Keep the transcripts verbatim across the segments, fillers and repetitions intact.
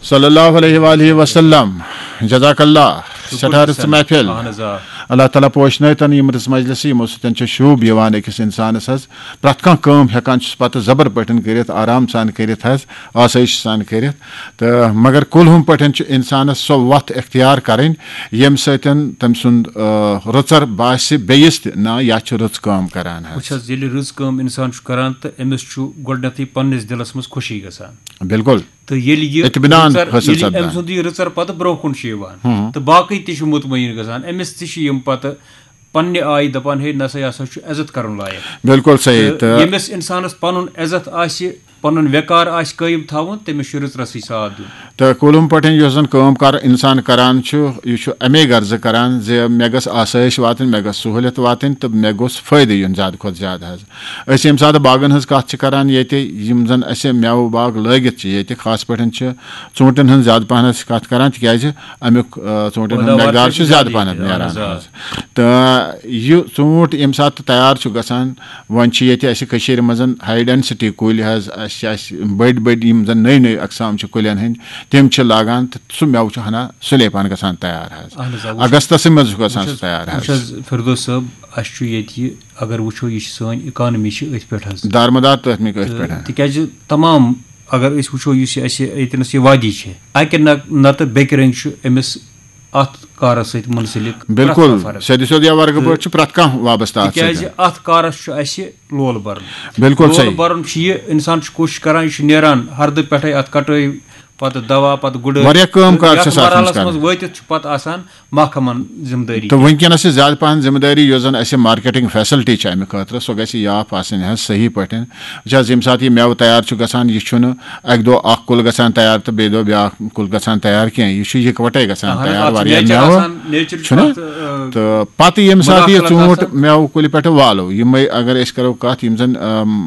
صلی اللہ علیہ وآلہ وسلم۔ جزاک اللہ۔ سٮ۪ٹھاہ رٕژ محفل۔ اہن حظ آ۔ اللہ تعالیٰ پوشنٲوتن یِم رٕژ مجلسہٕ، یِمو سۭتۍ چھُ شوٗب یِوان أکِس اِنسانَس حظ۔ پرٛٮ۪تھ کانٛہہ کٲم ہٮ۪کان چھُس پَتہٕ زَبر پٲٹھۍ کٔرِتھ، آرام سان کٔرِتھ حظ، آسٲیِش سان کٔرِتھ۔ تہٕ مگر کُلہُم پٲٹھۍ چھُ اِنسانَس سۄ وَتھ اختیار کَرٕنۍ، ییٚمہِ سۭتۍ تٔمۍ سُنٛد آ، رٕژَر باسہِ بیٚیِس تہِ، نہ، یہِ چھُ رٕژ کٲم کَران حظ۔ وٕچھ حظ، ییٚلہِ رٕژ کٲم اِنسان چھُ کَران تہٕ أمِس چھُ گۄڈٕنٮ۪تھٕے پنٛنِس دِلَس منٛز خوشی گژھان۔ بِلکُل۔ تہٕ ییٚلہِ یہِ اطمینان رٕژَر- حٲصِل ییٚلہِ سپدان۔ أمۍ سُنٛد یہِ رٕژَر پَتہٕ برونٛہہ کُن چھُ یِوان تہٕ باقٕے تہِ چھِ مطمعین گژھان، أمِس تہِ چھِ یِم پَتہٕ پنٛنہِ آیہِ دَپان، ہے، نہ سا، یہِ ہسا چھُ عزت کَرُن لایق۔ بِلکُل صحیح۔ تہٕ ییٚمِس اِنسانَس پَنُن عزت آسہِ، پَنُن وقار آسہِ قٲیِم تھاوُن، تٔمِس چھُ رٕژ رَسٕے ساتھ دیُن۔ تہٕ کُلہُم پٲٹھۍ یُس زَن کٲم کار اِنسان کَران چھُ، یہِ چھُ اَمے غرضہٕ کَران زِ مےٚ گٔژھ آسٲیِش واتٕنۍ، مےٚ گٔژھ سہوٗلیت واتٕنۍ تہٕ مےٚ گوٚژھ فٲیدٕ یُن زیادٕ کھۄتہٕ زیادٕ حظ۔ أسۍ ییٚمہِ ساتہٕ باغَن ہٕنٛز کَتھ چھِ کَران ییٚتہِ، یِم زَن اَسہِ مٮ۪وٕ باغ لٲگِتھ چھِ ییٚتہِ، خاص پٲٹھۍ چھِ ژوٗنٛٹھٮ۪ن ہٕنٛز زیادٕ پَہَن أسۍ کَتھ کَران، تِکیٛازِ اَمیُک آ، ژوٗنٛٹھٮ۪ن ہُنٛد پٲداوار مٮ۪قدار چھِ چھُ زیادٕ زیادٕ پَہَن ییٚتہِ، اَہَن نیران حظ، آ۔ حظ۔ تہٕ یہِ ژوٗنٛٹھ ییٚمہِ ساتہٕ تہٕ تیار چھُ گژھان، وۄنۍ چھِ ییٚتہِ اَسہِ کٔشیٖرِ منٛز ہاے ڈٮ۪نسِٹی کُلۍ حظ، اَسہِ چھِ اَسہِ بٔڑۍ بٔڑۍ یِم زَن نٔوۍ نٔوۍ اقسام چھِ کُلٮ۪ن ہٕنٛدۍ، تِم چھِ لاگان تہٕ سُہ مٮ۪وٕ چھُ ہَنا سُلے پَہَن گژھان تیار حظ۔ اَہَن حظ، آ، وٕچھ حظ، اگستَسٕے منٛز چھُ گژھان وٕچھ سُہ حظ، تیار وٕچھ حظ۔ حظ فردوس صٲب، اَسہِ چھُ ییٚتہِ یہِ، اگر وٕچھو، یہِ چھِ سٲنۍ اِکانمی چھِ أتھۍ پٮ۪ٹھ حظ۔ دارمدار تہٕ أتھۍ مٕکۍ أتھۍ تہٕ پٮ۪ٹھ۔ تِکیٛازِ تمام، اگر أسۍ وٕچھو، یُس یہِ اَسہِ ییٚتنَس یہِ وادی چھِ، اَکہِ نہ نَتہٕ بیٚکہِ رٔنٛگۍ چھُ أمِس اَتھ کارَس سۭتۍ مُنسلِک پرٛٮ۪تھ بِلکُل، کانٛہہ فرد۔ سیٚدِ سیوٚد یا ورگہٕ تہٕ پٲٹھۍ چھُ پرٛٮ۪تھ کانٛہہ وابستہٕ اَتھ تِکیٛازِ سۭتۍ۔ اَتھ کارَس چھُ اَسہِ لول بَرُن۔ بِلکُل لول صحیح۔ بَرُن چھُ یہِ، اِنسان چھُ کوٗشِش کَران، یہِ چھُ نیران ہَردٕ پٮ۪ٹھَے اَتھ کَٹٲے، پَتہٕ دَوا، پَتہٕ گُڈٲے۔ واریاہ کٲم کار یَتھ چھِ آسان أمِس مرحلَس کَرٕنۍ۔ منٛز وٲتِتھ چھُ پَتہٕ آسان محکمَن ذِمہٕ دٲری۔ تہٕ وٕنکیٚنَس چھِ زیادٕ پَہَن ذِمہٕ دٲری، یۄس زَن اَسہِ مارکیٹِنٛگ فیسَلٹی چھِ اَمہِ خٲطرٕ، سۄ گژھِ یہِ آف آسٕنۍ حظ صحیح پٲٹھۍ۔ وٕچھ حظ، ییٚمہِ ساتہٕ یہِ مٮ۪وٕ تیار چھُ گژھان، یہِ چھُنہٕ اَکہِ دۄہ اَکھ کُل گژھان تیار تہٕ بیٚیہِ دۄہ بیٛاکھ کُل گژھان تیار کینٛہہ۔ یہِ چھُ یِکوَٹَے گژھان اَہَن حظ، تیار، اَتھ چھُ واریاہ nature مٮ۪وٕ آسان، nature چھُ چھُنہٕ؟ اَتھ، آ، تہٕ پَتہٕ ییٚمہِ ساتہٕ یہِ مداخلت ژوٗنٛٹھ آسان۔ مٮ۪وٕ کُلہِ پٮ۪ٹھٕ والو، یِمَے اگر أسۍ کَرو کَتھ، یِم زَن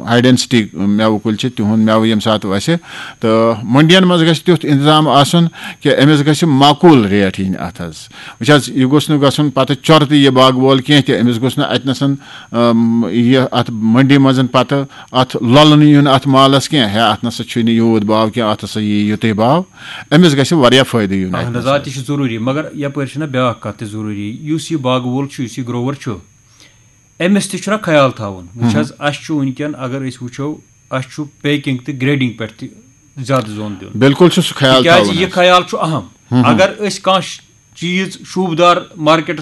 ہاے ڈٮ۪نسِٹی مٮ۪وٕ کُلۍ چھِ، تِہُنٛد مٮ۪وٕ ییٚمہِ ساتہٕ وَسہِ، تہٕ مٔنڈِیَن منٛز گژھِ تیُتھ اِنتظام آسُن کہِ أمِس گژھِ معقوٗل ریٹ یِنۍ اَتھ حظ۔ وٕچھ حظ، یہِ گوٚژھ نہٕ گژھُن پَتہٕ چۄرٕ تہِ یہِ باغہٕ وول کینٛہہ تہِ، أمِس گوٚژھ نہٕ اَتہِ نَسَن، اَم، یہِ اَتھ مٔنڈی منٛز پَتہٕ اَتھ لۄلُن یُن اَتھ مالَس کینٛہہ، ہے، اَتھ نَسا چھُے نہٕ یوٗت باو کینٛہہ، اَتھ ہَسا یی یُتُے باو۔ أمِس گژھِ واریاہ فٲیدٕ یُن اَتہِ اَہَن حظ، نَسَن۔ آ، تہِ چھُ ضروٗری، مگر یَپٲرۍ چھُنہ بیٛاکھ کَتھ تہِ ضروٗری، یُس یہِ باغہٕ وول چھُ، یُس یہِ grower چھُ، أمِس تہِ چھُنہ خیال تھاوُن۔ وٕچھ حظ، اَسہِ چھُ وٕنکیٚن، اگر أسۍ وٕچھو، اَسہِ چھُ packing تہٕ grading پٮ۪ٹھ تہِ زیادٕ زون دیُن۔ بِلکُل چھُ سُہ خیال تِکیٛازِ تھاوُن یہِ حظ۔ خیال چھُ اہم۔ اگر أسۍ کانٛہہ چیٖز شوٗبدار مارکیٹَس